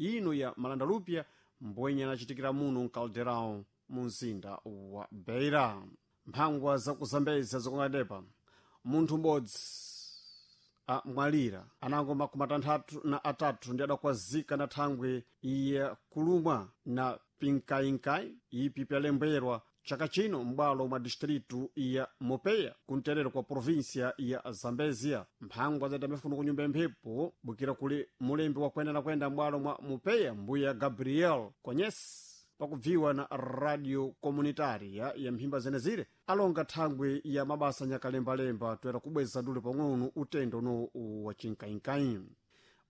Ino ya malandalupya mbwenye anachitikira muno mkalderão mu mzinda wa Beira. Mphangwa zakuzambeza zikungadepa munthu m'bodzi amwalira anango 63 ndi adakwazika na thangwe iye kulumwa na pinkainkai ipi pyalembwerwa chaka chino m'bwalo mwa distritu ya Mopeya kumterero kwa província ya Zambezia. Mphangwa zadambefuno ku nyumba yamphepo bukira kuli mulembi wakwenda na kwenda m'bwalo mwa Mopeya mbuya Gabriel Konyesi pakubviwa na radio comunitaria ya mphimba zenezire alonga thangwi ya mabasa nyakalembalemba toera kubweza dule pang'ono utendo uno wa chinkainkai.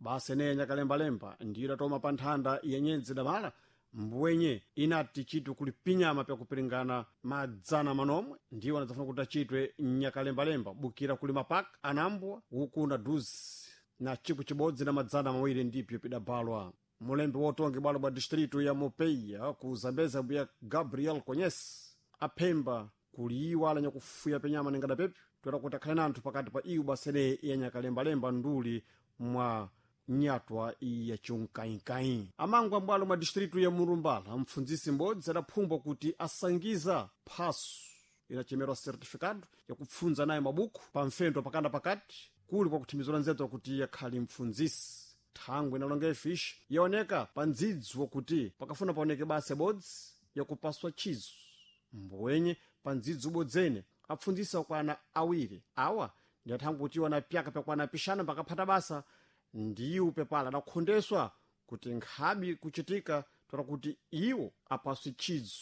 Basa eneya nyakalembalemba ndiyo idatoma pa nthanda ya nyendzi damala mbwenye inati chitwe kuli pinyama pyakupiringana madzana manomwe ndiwo anadzafuna kuti achitwe nyakalembalemba bukira kuli mapaka anambwa ukuna duzi na 1200 ndipyo pidabalwa. Mulembi wotonge bwalo bwa distritu ya Mopeia ku Zambeza mbuya Gabriel Konyesi aphemba kuliwa ala nyakufuya penyama ningada pepyo toera kuti akhale nanthu pakati pa iwo basene ya nyakalembalemba nduli mwa nyatwa ya chunkainkai. Amangwa mbwalo mwa distritu ya Murumbala mpfundzisi m'bodzi adaphumbwa kuti asangiza phaso inachemerwa certificado yakupfundza naye mabuku pa mfendo pakanda pakati kuli kwa kuthimizira nzeto kuti yakhali mpfundzisi. Thangwe inalonga ifishi yaoneka pa ndzidzi wakuti pakafuna paoneke basa ibodzi yakupaswa chizo mbwenye pa ndzidzi ubodzene apfundzisa kwana awiri awa ndi athangwe kuti iwo anapyaka pyakwana pixana pakaphata basa ndiwo pepala adakhondeswa kuti nkhabi kuchitika toera kuti iwo apaswe chizo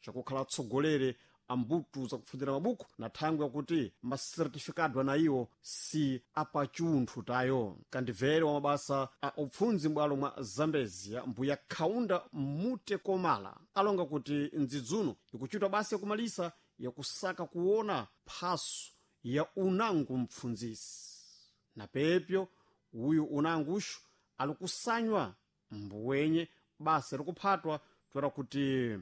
chakukhala atsogolere ambutu zakupfundzira mabuku na thangwe yakuti masertifikado ana iwo si apachunthu tayo. Kandibvere wa mabasa a upfundzi m'bwalo mwa Zambezia mbuya Kaunda Mute Komala alonga kuti ndzidzuno ikuchitwa basa yakumalisa yakusaka kuona phaso ya unangu mpfundzisi na pepyo uyu unanguxu alikusanywa mbwenye basa likuphatwa toera kuti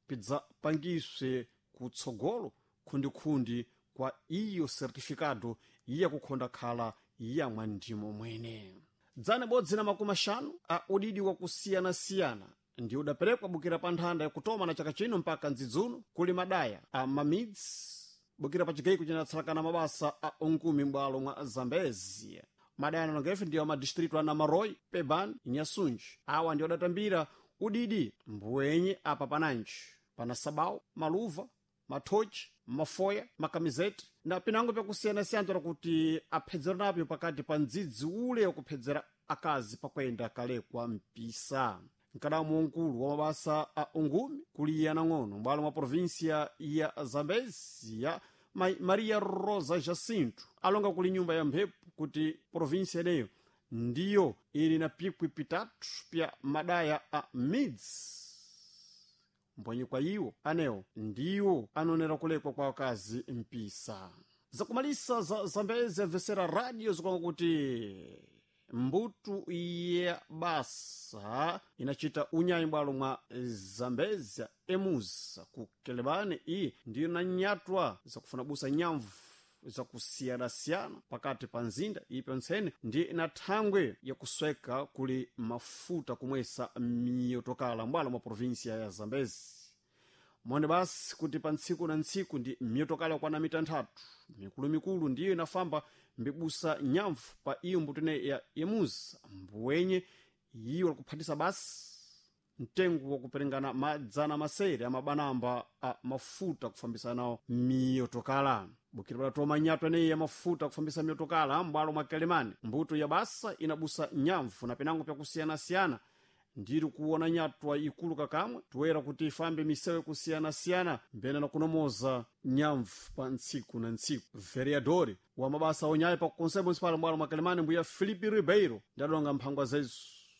pidzapangiswe kutsogolo khundikhundi kwa iyo certificado iya kukhonda khala yamwa ndimo mwene. 150 a udidi wakusiyanasiyana ndi udaperekwa bukira pa nthanda yakutoma na chaka chino mpaka ndzidzuno kuli madaya a mamidzi bukira pa chigaiko cinatsalakana mabasa a unkumi m'bwalo mwa Zambezia. Madaya analonga ife ndiwo madistritu a Namaroi, Peban, Inhasunji. Awa ndiwo adatambira udidi mbwenye apa pananji pana sabau, maluva, mathochi, mafoya, makamizeti na pinango pyakusiyanasiyana toera kuti aphedzera napyo pakati pa ndzidzi ule wakuphedzera akazi pakwenda kalekwa mpisa. Mkadamu wankulu wa mabasa a ungumi kuli yanang'ono m'bwalo mwa província ya Zambezia Maria Rosa Jacinto alonga kuli nyumba ya mphepo kuti província ineyo ndiyo ili na pikwi pitatu pya madaya a midzi mbwenye kwa iwo anewo ndiwo anonera kulekwa kwa akazi mpisa. Zakumalisa za Zambezi amvesera radio zikonga kuti mbutu ya basa inachita unyayi bwalo mwa Zambezia emuza ku Kelebane iyi ndiyo nanyatwa zakufuna busa nyamvu zakusiyanasiyana pakati pa nzinda ipi ntsene ndi na thangwe yakusweka kuli mafuta kumwesa miyotokala mbwalo mwa província ya Zambezi. Mwone basi kuti pa ntsiku na ntsiku ndi miyotokala yakwana mitanthatu mikulumikulu ndiyo inafamba mbibusa nyamvu pa iyo mbuto ineyi ya emuza mbwenye yiwo likuphatisa basi mtengo wakuperingana madzana masere amabanamba a mafuta kufambisa nawo miyotokala. Bukira padatoma nyatwa eneyi ya mafuta kufambisa miyotokala m'bwalo mwa Kelemani mbuto ya basa inabusa nyamvu na pinango pyakusiyanasiyana ndiri kuona nyatwa ikulu kakamwe toera kuti ifambe misewu kusiyana-siyana mbene na kunomoza nyamvu pa ntsiku na ntsiku. Vereadori wa mabasa onyayi pa conselho municipal m'bwalo mwa Kelemani mbuya Filipe Ribeiro ndadonga mphangwa zezu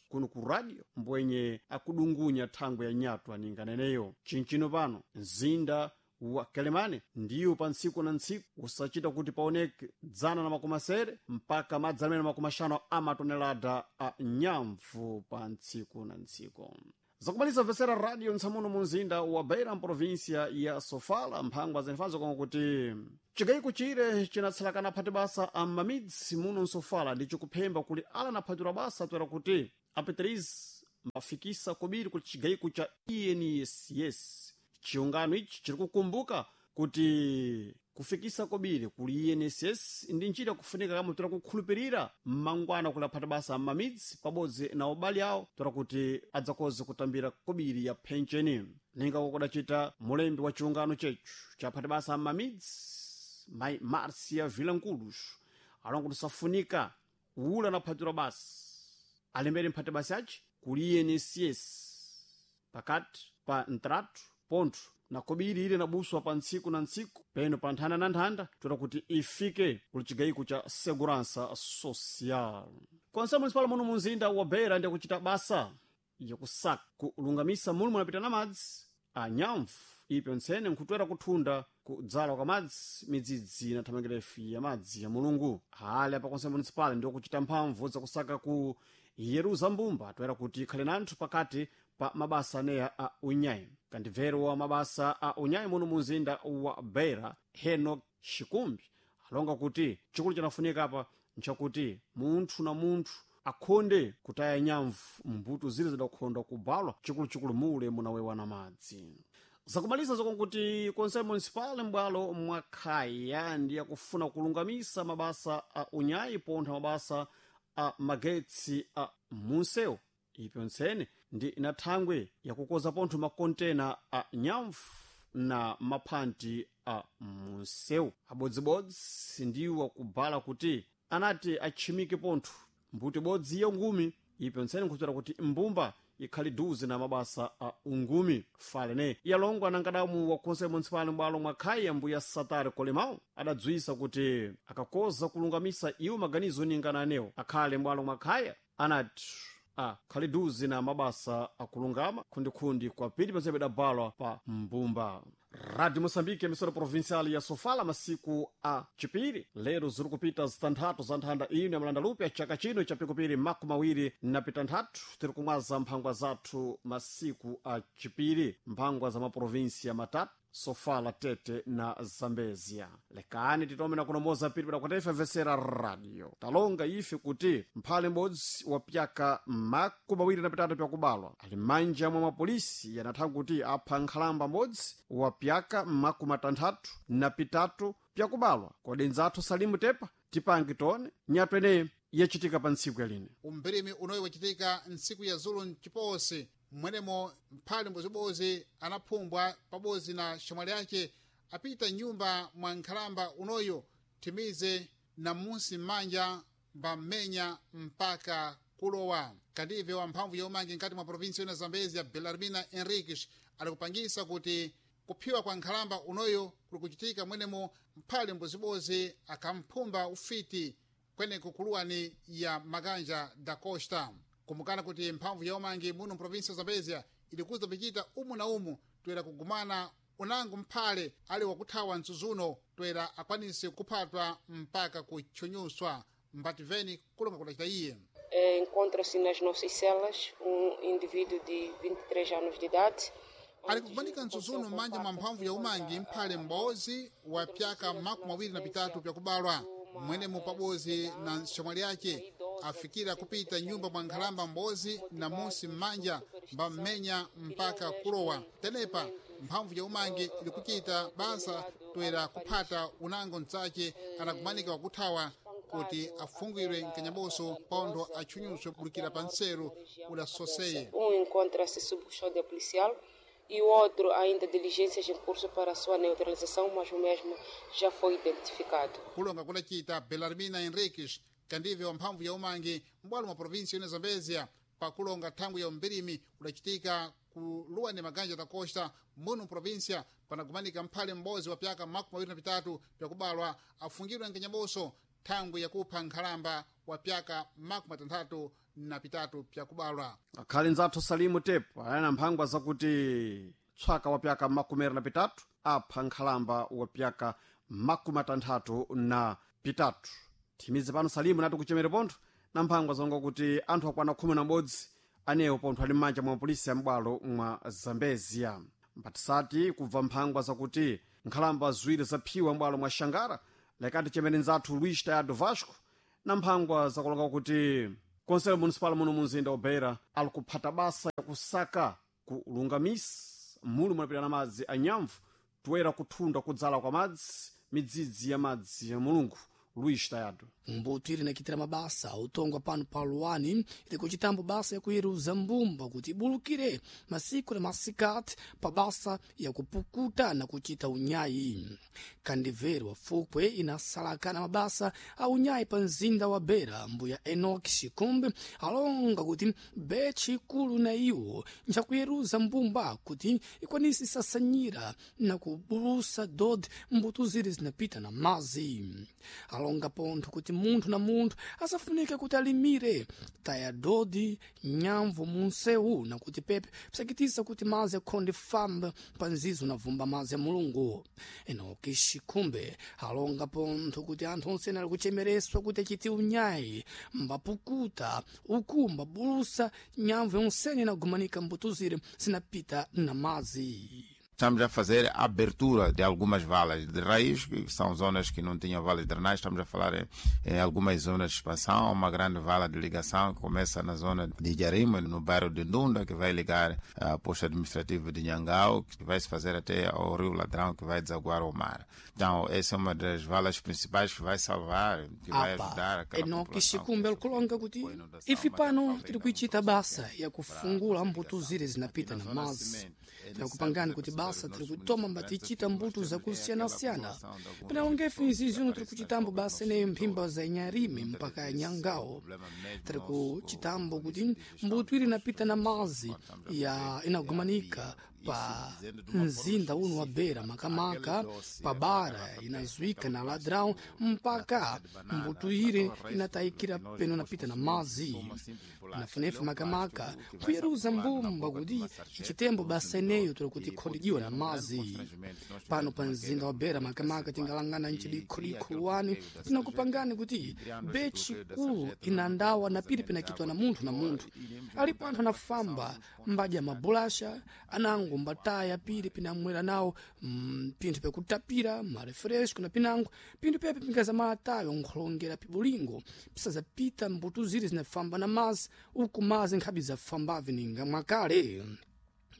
kuno ku radio mbwenye akudungunya thangwe ya nyatwa ninganeneyo. Chinchino pano mzinda wa Kelemane ndiwo pa ntsiku na ntsiku usachita kuti paoneke 160 mpaka 450 amatonelada a nyamvu pa ntsiku na ntsiku. Zakumaliza mvesera radio ntsamuno mu mzinda wa Beira mprovinsia ya Sofala mphangwa zenifazo koma kuti chigayiko chire chinatsalakana phati basa a mamidzi muno msofala ndi chikuphemba kuli ala naphatira basa toera kuti apitirize. mafikisa kobiri ku chigayiko cha INSS. Chiungano ichi chiri kukumbuka kuti kufikisa kobiri kuli INSS ndi njira kufunika kama tora kukhulupirira mmangwana kulaphata basa m'mamidzi pabodzi na ubali awo tora kuti adzakoze kutambira kobiri ya pensheni. Ninga kudacita mulembi wa chiungano chechu chaphata basa m'mamidzi mai Marcia Vilanculos alonga kuti safunika ula naphatirwa basi alembere mphati basi aci kuli INSS pakati pa ntratu pontho na kobiri ile nabuswa pa ntsiku na ntsiku peno pa nthanda na nthanda toera kuti ifike kuli chigayiko cha segurança social. Konse municipal muno munzinda wa Beira ndi kuchita basa yakusaka kulungamisa mulu munapita na madzi a nyamvu ipyo ntsene nkhutwera kuthunda kudzala kwa madzi midzidzi na thamangirefu ya madzi ya mulungu. Hali apa konse municipal ndi kuchita mphamvu zakusaka ku yeruza mbumba toera kuti ikhale nanthu pakati pa mabasa aneya a unyayi. Kandibvero wa mabasa a unyayi muno munzinda wa Beira Henok Shikumbi alonga kuti chikulu chinafunika apa nchakuti munthu na munthu akhonde kutaya nyamvu mbuto zile zidakhonda kubalwa chikuluchikulu mule munawewa na madzi. Zakumaliza zokonkuti konse municipal m'bwalo mwakhaya ndi yakufuna kulungamisa mabasa a unyayi pontha mabasa a magetsi a munsewu ipyo ntsene ndi na thangwe yakukoza pontho makontena a nyamvu na maphanti a munsewu. Abodzibodzi ndiwo akubala kuti anati atchimike pontho mbuto ibodzi ya ungumi ipyo ntsene nkhuzera kuti mbumba ikhali duze na mabasa a ungumi. Falene yalongwa na nkadamu wa konse municipal m'bwalo mwa khaya mbuya Satari Kolemao adadzwisa kuti akakoza kulungamisa iwo maganizo ningana anewo akhale m'bwalo mwa khaya anati akhali duze na mabasa akulungama khundikhundi kwa pili pense pidabalwa pa mbumba. Radio Moçambique, emissora provincial ya Sofala, masiku a chipiri lero ziri kupita zitanthatu za nthanda ino ya malanda lupya chaka chino cha pikupiri 26. Tiri kumwaza mphangwa zathu masiku a chipiri, mphangwa za maprovinsia matatu Sofala, Tete na Zambezia. Lekani titome na kunomoza piri padakwataifa vesera radio talonga ife kuti mphale m'bodzi wa pyaka 23 pyakubalwa ali manja mwa mapolisi yanatha kuti apha nkhalamba m'bodzi wa pyaka 63 pyakubalwa. Kodi nzathu Salimu Tepa tipange tone nyatwa ineyi yachitika pa ntsiku yaline. Umbirimi unoyi wachitika ntsiku ya zulu mchiposi mmwenemo mphale mbozibozi anaphumbwa pabodzi na xamwali yace apita nyumba mwa nkhalamba unoyo thimize na munsi m'manja mbam'menya mpaka kulowa. Kandive wa mphamvu ya umangi nkati mwa provinsi yona Zambezia Belarmina Henriques alikupangisa kuti kuphiwa kwa nkhalamba unoyo kuli kuchitika mwenemo mphale mbozibozi akamphumba ufiti kweneko kuluwani ya Maganja da Costa. Kumbukana kuti mphamvu ya umangi muno mprovinsi ya Zambezia ilikuza pichita umu na umu toera kugumana unango mphale ali wakuthawa msuzuno toera akwanise kuphatwa mpaka kutchunyuswa. Mbativeni kulonga kudacita iye. Encontra-se nas nossas celas indivíduo de 23 anos de idade. Ali kukumanika msuzuno m'manja mwa mphamvu ya umangi mphale m'bodzi wa pyaka 23 pyakubalwa mwenemo pabodzi na xamwali yace afikira kupita nyumba mwa nkhalamba m'bodzi na musi m'manja mbam'menya mpaka kulowa. Tenepa mphamvu ya umangi ilikuchita basa toera kuphata unango mtsace anakumanika wakuthawa kuti afungwirwe mkanyaboso pontho atchunyuswe kulikira pa nseru udasoseye. Encontra-se sob custódia policial e o outro ainda diligências em curso para a sua neutralização, mas o mesmo já foi identificado. Kulonga kudacita Belarmina Henriques kandive wa mphamvu ya umangi m'bwalo mwa provinsi yona Zambezia pakulonga thangwi ya umbirimi kudachitika ku luwani Maganja da Costa muno mprovinsia panakumanika mphale m'bodzi wa pyaka 23 pyakubalwa afungidwe mkanyaboso thangwi yakupha nkhalamba wa pyaka 63 pyakubalwa. Akhale nzathu Salimu Tepa ayana mphangwa zakuti tswaka wa pyaka 23 apha nkhalamba wa pyaka 63. Thimize pano Salimu nati kuchemere pontho na mphangwa zonga kuti anthu akwana 11 anewo pontho ali m'manja mwa polisi ya m'bwalo mwa Zambezia. Mpatisati kubva mphangwa zakuti nkhalamba ziwiri zaphiwa m'bwalo mwa Xangara lekati chemere nzathu Luis Tayado Vasco na mphangwa zakulonga kuti Conselho Municipal muno munzinda wa Beira ali kuphata basa ya kusaka kulungamisa mulu munapita na madzi a nyamvu toera kuthunda kudzala kwa madzi midzidzi ya madzi ya Mulungu. Luís Tayado. Mbuto ili nakitira mabasa utongwa pano pa luwani ili kuchitambo basa yakuyeruza mbumba kuti ibulukire masiku na masikati pa basa yakupukuta na kuchita unyayi. Kandiveri wa fukwe inasalakana mabasa a unyayi pa mzinda wa Beira. Mbuya Enoch Shikumbi alonga kuti bechi ikulu na iwo njakuyeruza mbumba kuti ikwanise isasanyira na kubulusa dodi mbuto zili zinapita na mazi. Alonga pontho kuti munthu na munthu asafunike kuti alimire taya dodi nyamvu munsewu na kuti pepe pisakitisa kuti mazi akhonde famba pa nzizo na vumba mazi ya Mulungu. Enoki Shikumbe alonga pontho kuti anthu onse ali kuchemereswa kuti achite unyayi mbapukuta uku mbabulusa nyamvu yonsene inagumanika mbuto zire zinapita na mazi. Estamos a fazer a abertura de algumas valas de raiz, que são zonas que não tinham valas de drenagem. Estamos a falar em algumas zonas de expansão, uma grande vala de ligação que começa na zona de Jarima, no bairro de Ndunda, que vai ligar a posto administrativo de Nhangau, que vai se fazer até ao Rio Ladrão, que vai desaguar ao mar. Então, essa é uma das valas principais que vai salvar, que vai ajudar aquela Enoki população. Shikumbe alikulonga kuti com inundação, ife mas pano falta tiri ainda kuichita um basa processo yakufungula para mbuto zire zinapita na Aqui na zona mazi. cimento, é Tinakupangani necessário kuti fazer basa os tiri nossos kutoma municípios mbatichita grandes, mbuto nós temos é zakusiyana-siyana. aquela população de alguns Pinalonga ife nzizi uno tiri aparece nas kuchitambo bocas basa dos eneyo nossos mphimba za Inyarime Muitas mpaka ya vezes, Nyangao. o problema mesmo Tiri nosso, kuchitambo o kuti município de gestão mbuto ili dos inapita na mazi nossos estamos a ya fazer inagumanika é a via. pa Isso dizendo de uma forma mzinda uno wa específica. Beira, makamaka Aquele doce, pa aquela bara garrafa inazwika PET, na aquele ladrão plástico, mpaka casca de banana, mbuto ire aquela resto inatayikira que nós peno depois napita na consumimos, mazi. uma simples bolacha. Nafunefe Aquele é um makamaka plástico que vai se kuyeruza acumulando na mbumba boca de kuti uma sarjeta, ichitembo do basa consumidor, eneyo tiri kuti e pode ikhondijiwa criar na um grande mazi. constrangimento se nós Pano tivermos pa uma mzinda queda wa Beira muito makamaka acentuada. tingalangana E cria nchidikhodikho aquele luwani bloqueio da sarjeta, tinakupangani kuti criando esse bechi bloqueio da kulu sarjeta, nós não inandawa temos na piri vazamento de pinakitwa na água munthu na pior munthu. e iremos Alipo encontrar anthu a anafamba restrição dos pontos mbadya mabulasha anango mbataya piri pinamwera nawo pinthu pyakutapira marefresco na pinango pinthu pepe pingazamalatayo nkholongera pibulingo pisazapita mbuto ziri zinafamba na mazi uku mazi nkhabi zafambave ninga mwakale.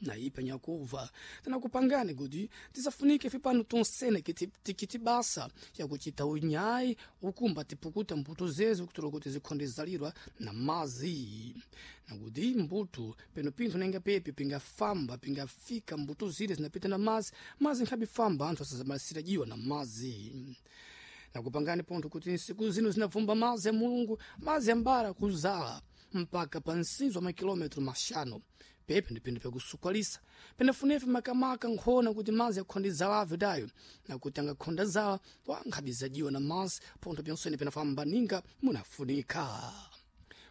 Naipa nyakuva tinakupangani kuti tisafunike ife pano tonsene tikiti basa yakuchita unyayi ukumba tipukuta mbuto zezo kutola kuti zikhonde zalirwa na mazi nakuti mbuto peno pinthu nenga pepe pingafamba pingafika mbuto zile zinapita na mazi mazi nkhabe famba anthu asazamalisira jiwa na mazi. Nakupangani pontho kuti nsiku zino zinavumba mazi ya Mulungu mazi ambara kuzala mpaka pa msinzo wa makilometro maxanu pepe ndi pinthu pyakusukwalisa penafunefe makamaka nkhona kuti mazi akhonde zalave dayo nakuti angakhonda zala wankhabizajiwa na mazi pontho pyonsene penafamba ninga munafunika.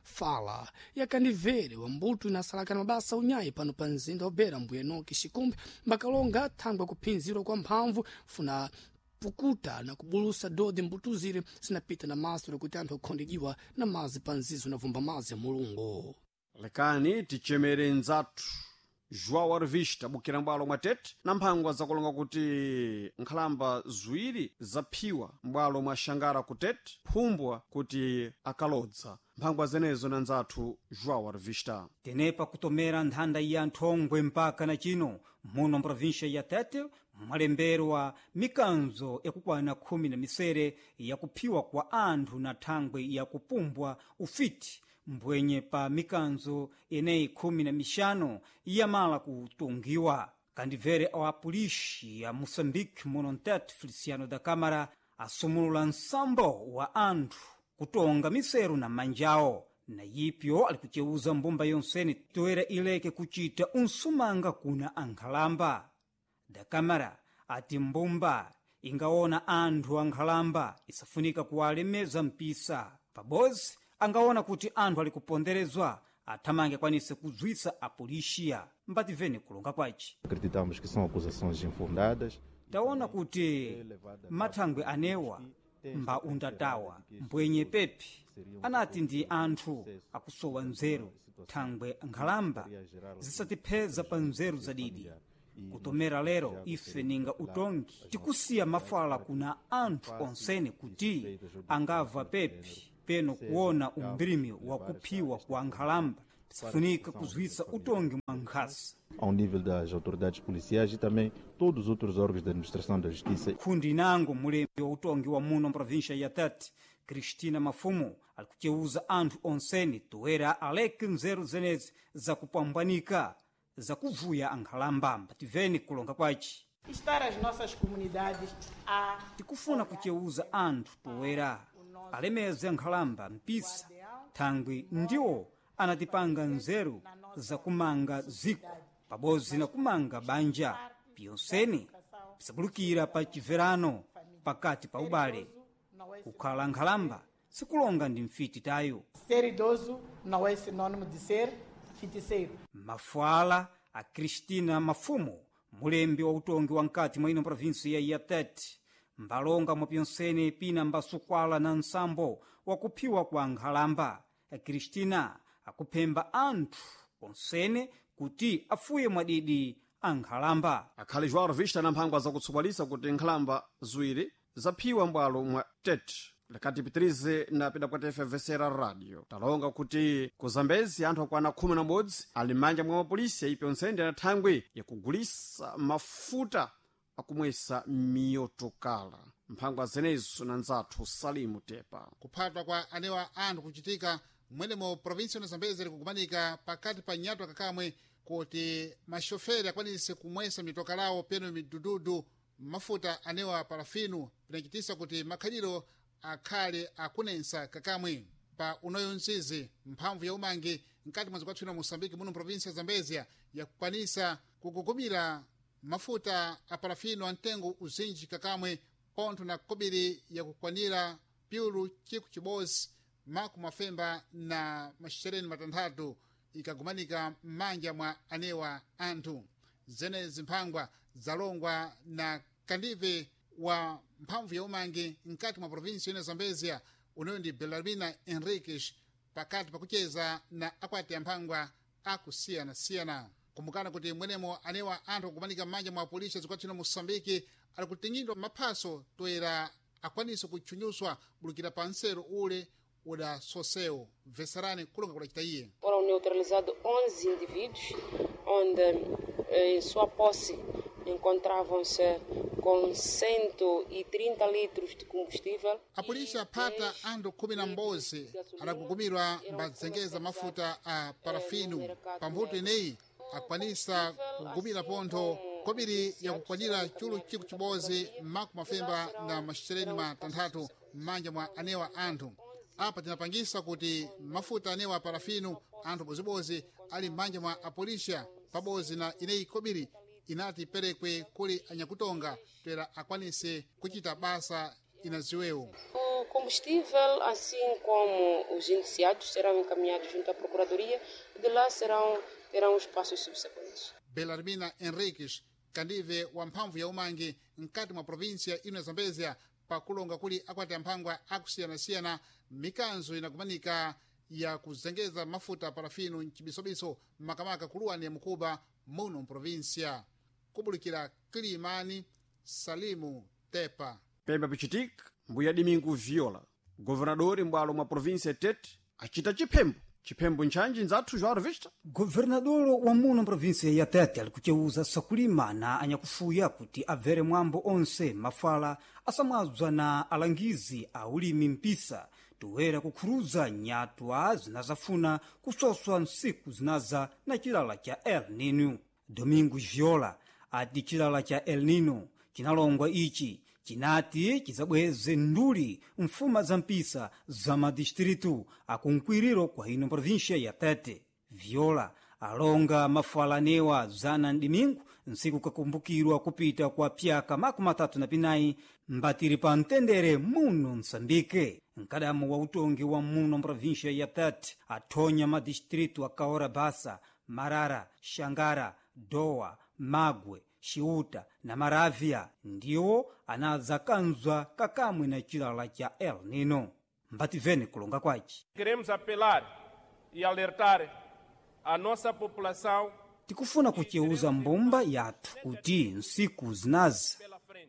Fala yakandivere wa mbuto inasalakana mabasa unyayi pano pa mzinda wa Beira. Mbuya Enoki Shikumbi mbakalonga thangwe kuphinzirwa kwa mphamvu funa pukuta na kubulusa dodi mbuto zile zinapita na mazi kuti anthu akhondejiwa na mazi pa nzizo navumba mazi ya Mulungu. Lekani tichemere nzathu João Arvista bukira m'bwalo mwa Tete na mphangwa zakulonga kuti nkhalamba ziwiri zaphiwa m'bwalo mwa Xangara ku Tete phumbwa kuti akalodza. Mphangwa zenezo na nzathu João Arvista. Tenepa kutomera nthanda ya nthongwe mpaka na chino muno mprovinsia ya Tete mwalemberwa mikanzo yakukwana 17 yakuphiwa kwa anthu na thangwe yakupumbwa ufiti mbwenye pa mikanzo eneyi 15 yamala kutungiwa. Kandibvere wa apolisi ya Moçambique muno mtete Feliciano da Câmara asumulula nsambo wa anthu kutonga miseru na manjawo na yipyo ali kuceuza mbumba yonsene toera ileke kuchita unsumanga kuna ankhalamba. Da Câmara ati mbumba ingaona anthu ankhalamba isafunika kuwalemeza mpisa pabozi angaona kuti anthu ali kuponderezwa athamange akwanise kuzwisa apolisiya. Mbativene kulonga kwaci. Acreditamos que são acusações infundadas. Taona kuti mathangwe anewa mba undatawa mbwenye pepi anati ndi anthu akusowa nzeru thangwe nkhalamba zisatipheza pa nzeru zadidi. Kutomera lero ife ninga utongi tikusiya mafala kuna anthu onsene kuti angava pepi Peno kuona umbirimi wa kuphiwa kwa nkhalamba pisifunika kuzwisa utongi mwa nkhasa Ao nível das autoridades policiais e também todos os outros órgãos da administração da justiça. Kundi nango mulembi wa utongi wa muno mprovíncia ya Tete, Cristina Mafumo, alikucheuza anthu onseni toera aleke nzeru zenezi zakupambanika zakuvuya ankhalamba. Mbativeni kulonga kwaci. Estar as nossas comunidades a Tikufuna kucheuza anthu toera alemeze ankhalamba mpisa thangwi ndiwo anatipanga nzeru zakumanga ziko pabodzi na kumanga banja piyonseni pisabulukira pa chibverano pakati pa ubale. Kukhala nkhalamba sikulonga ndi mfiti tayo. Ser idoso não é sinônimo de ser feiticeiro. Mafuala a Cristina Mafumo, mulembi wa utongi wa nkati mwa ino provinsi ya Tete, mbalonga mwa pyonsene pina mbasukwala na nsambo wakuphiwa kwa nkhalamba. Cristina akuphemba anthu onsene kuti afuye mwadidi ankhalamba. Akhali João Revista na mphangwa zakutsopalisa kuti nkhalamba ziwiri zaphiwa m'bwalo mwa Tete. Lekati pitirize na pidapwatefe vesera radio talonga kuti ku Zambezi anthu akwana 11 ali m'manja mwa mapolisi ipi onse na thangwi yakugulisa mafuta akumwesa miyotokala. Mphangwa zenezo na nzathu Salimu Tepa. Kuphatwa kwa anewa anthu kuchitika mwenemo provinsi ya Zambezi likukumanika pakati pa nyatwa kakamwe kuti maxoferi akwanise kumwesa mitoka lawo peno midududu mafuta anewa parafinu, pinachitisa kuti makhaliro akhale akunensa kakamwe. Pa unoyo mzizi mphamvu ya umangi mkati mwa zikwathu ino Moçambique muno provinsi ya Zambezia yakukwanisa kugugumira mafuta a parafino a mtengo uzinji kakamwe pontho na kobiri yakukwanira pyulu chiku chibodzi makumi mafemba na maxereni matanthatu ikagumanika m'manja mwa anewa anthu. Zenezi mphangwa zalongwa na kandive wa mphamvu ya umangi mkati mwa provinsi ino Zambezia unoyo ndi Belarmina Henriques pakati pakucheza na akwati amphangwa akusiyanasiyana. Kumbukana kuti mwenemo anewa anthu akumanika m'manja mwa polisi zikwathu ino Moçambique ali kutingidwa maphaso toera akwanise kutchunyuswa bulukira pa nseru ule udasosewo. Bveserani kulonga kudacita iye. Foram neutralizados 11 indivíduos, onde em sua posse encontravam-se com 130 litros de combustível. A polícia aphata anthu 11 adagugumirwa mbazengeza mafuta a parafino. Pambuto ineyi akwanisa kugumira pontho kobiri yakukwanira chulu chiku chibodzi makumi mafemba na maxereni matanthatu m'manja mwa anewa anthu. Apa tinapangisa kuti mafuta anewa parafino anthu bozibozi ali m'manja mwa apolisia pabodzi na ineyi kobiri inati perekwe kuli anyakutonga toera akwanise kuchita basa inaziwewo. O combustível, assim como os indiciados, serão encaminhados junto à Procuradoria e de lá terão os passos subsequentes. Belarmina Henriques, kandive wa mphamvu ya umangi mkati mwa provinsia ino ya Zambezia, pakulonga kuli akwati amphangwa akusiyanasiyana mikanzo inakumanika ya kuzengeza mafuta parafino mchibisobiso makamaka kuluwani ya mukuba muno mprovinsia. Kubulikira Kilimani, Salimu Tepa. Pemba pichitika mbuya Domingo Viola, governadori m'bwalo mwa provinsi ya Tete, acita chiphembo. Chiphembo nchanji nzathu João Revista. Governador wa muno mprovinsi ya Tete ali kucheuza sakulima na anyakufuya kuti abvere mwambo onse mafala asamwadzwa na alangizi a ulimi mpisa toera kukhuruza nyatwa zinazafuna kusoswa nsiku zinaza na chilala cha El Nino. Domingo Viola ati chilala cha El Nino chinalongwa ichi chinati chizabweze nduli mfuma za mpisa za madistritu akunkwiriro kwa ino província ya Tete. Viola alonga mafalanewa zana mdimingu nsiku kakumbukirwa kupita kwa pyaka 34 mbatiri pa mtendere muno Msambike. Mkadamu wa utongi wa muno mprovíncia ya Tete athonya madistritu a Kaora Basa, Marara, Xangara, Dowa, Magwe, Xiuta na Maravia ndiwo anadzakanzwa kakamwe na chilala cha El Nino. Mbativene kulonga kwaci. Queremos apelar e alertar a nossa população. Tikufuna kucheuza mbumba yathu kuti nsiku zinazi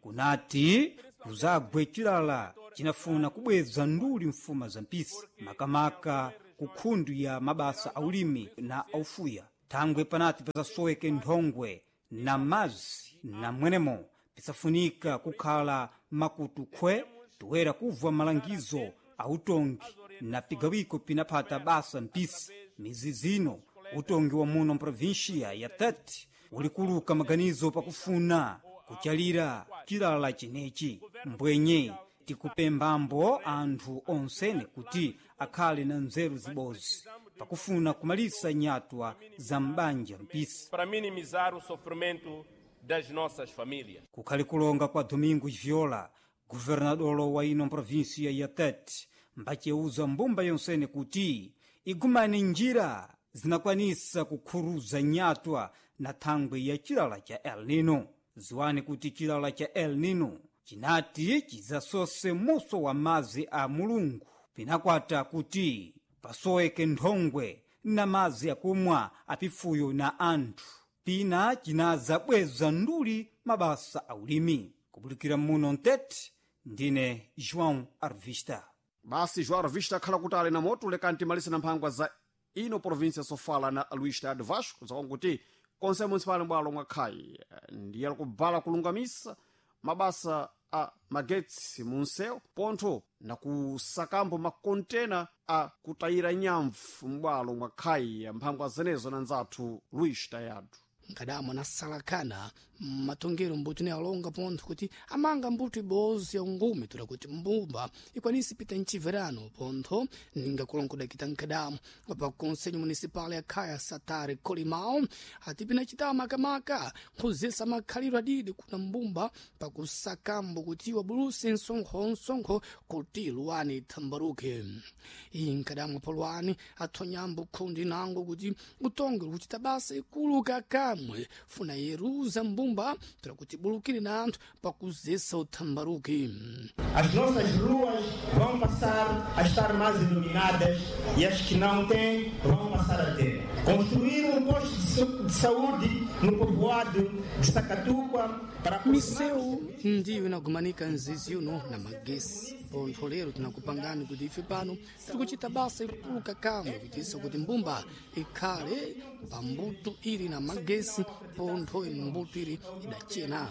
kunati kuzagwe chilala cinafuna kubweza nduli mfuma za mpisi makamaka ku khundu ya mabasa aulimi na aufuya. Thangwe panati pasasoweke nthongwe na mazi na mwenemo pisafunika kukhala makutu khwe toera kubva malangizo autongi na pigawiko pinaphata basa mpisi. Mizizi ino utongi wa muno mprovinsia ya Tete ulikuluka maganizo pakufuna kuchalira chilala chinechi. Mbwenye tikupembambo anthu onsene kuti akhale na nzeru zibozi pakufuna kumalisa nyatwa za m'banja mpisi para minimizar o sofrimento das nossas famílias. Kukhali kulonga kwa Domingos Viola, governadolo wa ino provinsia ya Tete, mbaceuza mbumba yonsene kuti igumane njira zinakwanisa kukhuruza nyatwa na thangwe ya chilala cha El Nino. Ziwani kuti chilala cha El Nino chinati chizasose muso wa mazi a Mulungu pinakwata kuti pasoweke nthongwe na mazi akumwa apifuyo na anthu. Pina chinazabweza nduli mabasa aulimi. Kubulikira muno Mtete, ndine João Arvista. Basi João Arvista akhala kuti ali na moto lekani timalise na mphangwa za ino província Sofala na Luís Tado Vasco zakonkuti konse municipal bwalo mwakhayi ndiye alikubala kulungamisa mabasa a magetsi munsewu pontho na kusakambo makontena a kutayira nyamvu m'bwalo mwakhayi mphangwa zenezo na nzathu Luís Tayado. Nkadamo anasalakana matongero mbuto ne alonga pontho kuti amanga mbuto ibozi ya ungume toda kuti mbumba ikwanise pita mchiverano pontho ninga kulongodakita nkadamo pa conselho municipal ya khaya Satare Colimao ati pinachita makamaka nkhuzesa makhaliro adidi kuna mbumba pakusakambo kuti wabuluse msonkho kuti luwani ithambaruke. Iyi nkadamo polwani athonyambo khundi nango kuti utonge kuchita basa ikulu kakamwe funa yeruza mbumba toda kuti bulukire na anthu pakuzesa uthambaruke. As nossas ruas vão passar a estar mais iluminadas e as que não têm vão passar a ter. Construir um posto de saúde no povoado de Sacatuca para Miseu ndiyo inagumanika nzizi uno na magesi pontho lero tinakupangani kuti ife pano tiri kuchita basa ikulu kamwe kuitisa kuti mbumba ikhale pambuto ili na magesi pontho mbuto ili idachena.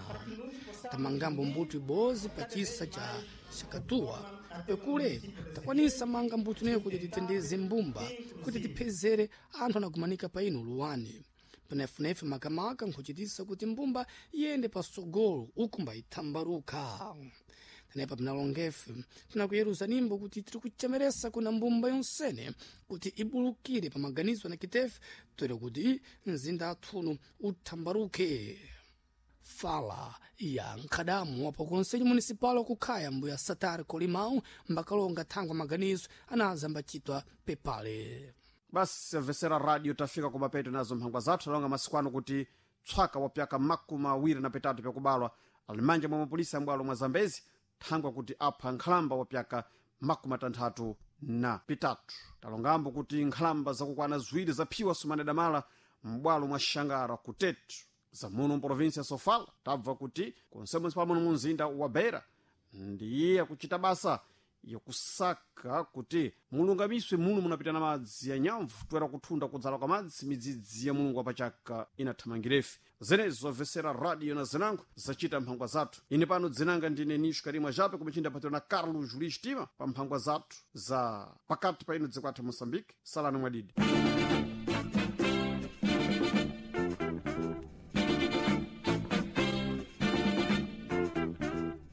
Tamangambo mbuto ibozi pachisa cha Shakatuwa pekule takwanisa manga mbuto ineyo kuti titendeze mbumba kuti tiphezere anthu anagumanika pa ino luwani penefunefe makamaka nkhuchitisa kuti mbumba iyende pasogolo ukumba ithambaruka. Tenepa pinalongefe tinakuyeruza nimbo kuti tiri kuchemeresa kuna mbumba yonsene kuti ibulukire pa maganizo na kitefe toera kuti mzinda athuno uthambaruke. Fala ya nkhadamu wapo konselho municipal wakukhaya mbuya Satare Colimão mbakalonga thangwa maganizo anaza mbachitwa pepale. Basi amvesera radio tafika kumapeto nazo mphangwa zathu alonga masiku ano kuti tswaka wa pyaka 23 pyakubalwa ali manja mwa mapolisa ambwalo mwa Zambezi thangwa kuti apha nkhalamba wa pyaka 63. Talongambo kuti nkhalamba zakukwana ziwiri zaphiwa sumane damala m'bwalo mwa Xangara kutetu zamuno mprovinsia ya Sofala. Tabva kuti konse municipal muno munzinda wa Beira ndiye akuchita basa yakusaka kuti mulungamiswe muno munapita na madzi ya nyamvu toera kuthunda kudzala kwa madzi midzidzi ya Mulungu wapachaka inathamangirefe. Zenezo zamvesera radio na zinango zacita mphangwa zathu. Ine pano dzinanga ndine Nisho Karimwa Jape kumichinda patiro na Carlos Julius Tima pa mphangwa zathu za pakati pa ino dziko athu Moçambique. Salani mwadidi.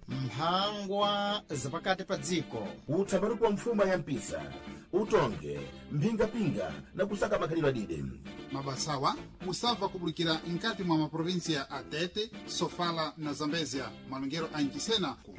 Mphangwa zapakati pa dziko. Uthambaruko wa mfuma ya mpisa utonge mphingapinga na kusaka makhalidwe adide. Mabasawa musabva kubulikira nkati mwa maprovinsia a Tete, Sofala na Zambezia malongero a Nchisena ku